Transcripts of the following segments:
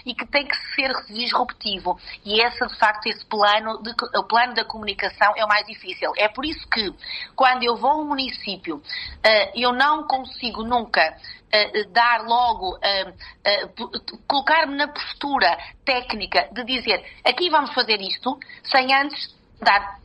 e que tem que ser disruptivo. E de facto, o plano da comunicação é o mais difícil. É por isso que, quando eu vou a um município, eu não consigo nunca dar logo, colocar-me na postura técnica de dizer, aqui vamos fazer isto, sem antes dar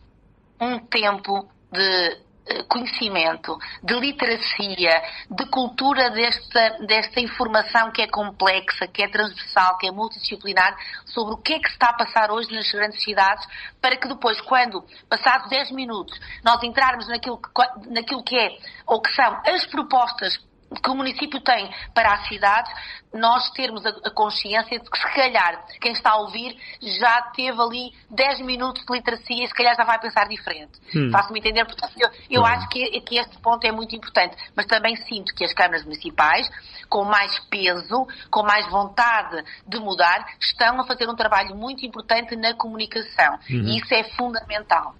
um tempo de conhecimento, de literacia, de cultura desta informação que é complexa, que é transversal, que é multidisciplinar, sobre o que é que se está a passar hoje nas grandes cidades, para que depois, quando, passados 10 minutos, nós entrarmos naquilo que é, ou que são as propostas que o município tem para as cidades, nós termos a consciência de que, se calhar, quem está a ouvir já teve ali 10 minutos de literacia e se calhar já vai pensar diferente. Faço-me entender? Portanto, eu acho que este ponto é muito importante, mas também sinto que as câmaras municipais, com mais peso, com mais vontade de mudar, estão a fazer um trabalho muito importante na comunicação. E isso é fundamental.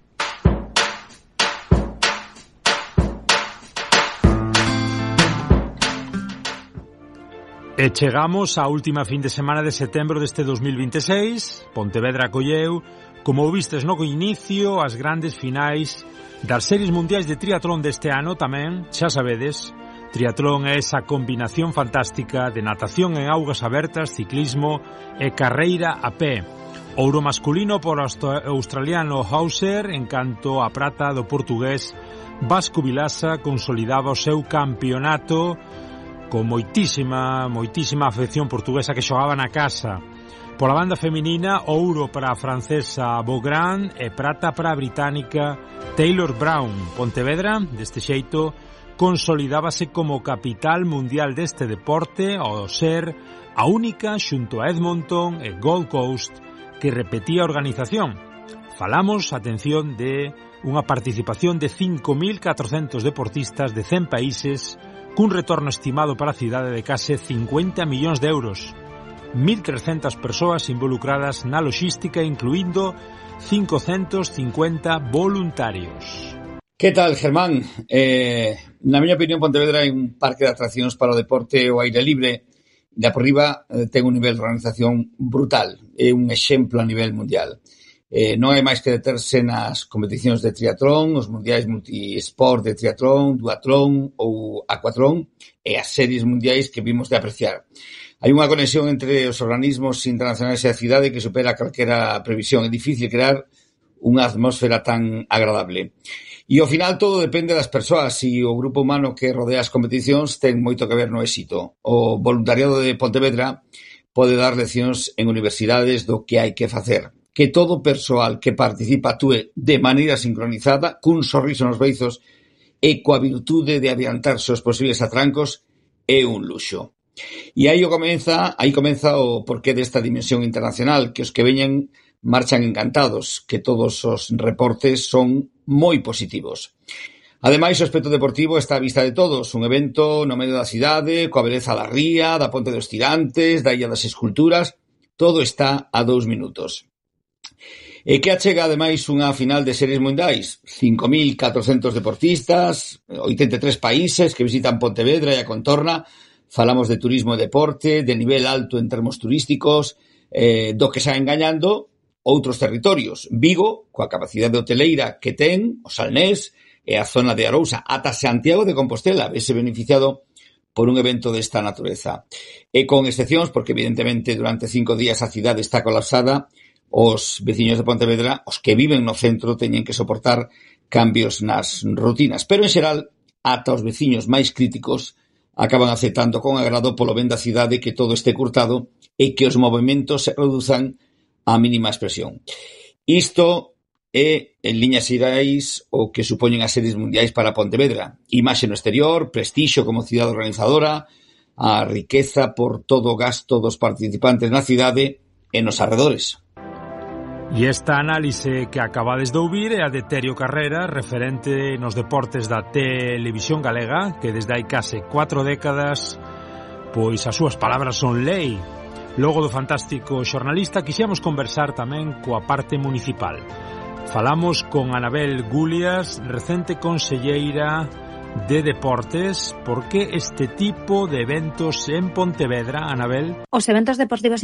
E chegamos á última fin de semana de setembro deste 2026. Pontevedra acolleu, como vistes no inicio, as grandes finais das series mundiais de triatlón deste ano tamén, xa sabedes. Triatlón é esa combinación fantástica de natación en augas abertas, ciclismo e carreira a pé. Ouro masculino por australiano Hauser, en canto a prata do portugués Vasco Vilasa consolidaba o seu campeonato con moitísima afección portuguesa que xogaba na casa. Pola banda feminina, ouro para a francesa Beaugrand e prata para a británica Taylor Brown. Pontevedra, deste xeito, consolidábase como capital mundial deste deporte ao ser a única xunto a Edmonton e Gold Coast que repetía a organización. Falamos, atención, de unha participación de 5.400 deportistas de 100 países cun retorno estimado para a cidade de case 50 millóns de euros. 1.300 persoas involucradas na logística, incluindo 550 voluntarios. Que tal, Germán? Na miña opinión, Pontevedra é un parque de atraccións para o deporte ao aire libre. De por riba ten un nivel de organización brutal. É un exemplo a nivel mundial. Non hai máis que deterse nas competicións de triatlón, os mundiais multisport de triatlón, duatlón ou aquatlón e as series mundiais que vimos de apreciar. Hai unha conexión entre os organismos internacionais e a cidade que supera calquera previsión. É difícil crear unha atmósfera tan agradable. E ao final todo depende das persoas e o grupo humano que rodea as competicións ten moito que ver no éxito. O voluntariado de Pontevedra pode dar leccións en universidades do que hai que facer. Que todo persoal que participa actúe de maneira sincronizada, cun sorriso nos beizos e coa virtude de adiantarse os posibles atrancos é un luxo. E aí comeza o porqué desta dimensión internacional, que os que veñen marchan encantados, que todos os reportes son moi positivos. Ademais, o aspecto deportivo está á vista de todos, un evento no medio da cidade, coa beleza da ría, da Ponte dos Tirantes, da Illa das Esculturas, todo está a 2 minutos. E que achega, ademais, unha final de series mundiais, 5.400 deportistas, 83 países que visitan Pontevedra e a contorna. Falamos de turismo e deporte, de nivel alto en termos turísticos, do que saen gañando outros territorios. Vigo, coa capacidade hoteleira que ten, o Salnés e a zona de Arousa, ata Santiago de Compostela, vese beneficiado por un evento desta natureza. E con excepcións, porque evidentemente durante 5 días a cidade está colapsada, os veciños de Pontevedra, os que viven no centro, teñen que soportar cambios nas rutinas. Pero, en xeral, ata os veciños máis críticos acaban aceptando con agrado polo ben da cidade que todo este curtado e que os movimentos se reduzan á mínima expresión. Isto é, en liñas xerais, o que supoñen as series mundiais para Pontevedra. Imaxe no exterior, prestixio como cidade organizadora, a riqueza por todo o gasto dos participantes na cidade e nos arredores. E esta análise que acabades de ouvir é a de Terio Carrera, referente nos deportes da televisión galega, que desde hai case 4 décadas, pois as súas palabras son lei. Logo do fantástico xornalista, quixemos conversar tamén coa parte municipal. Falamos con Anabel Gulias, recente conselleira de deportes. ¿Por qué este tipo de eventos en Pontevedra, Anabel? Os eventos deportivos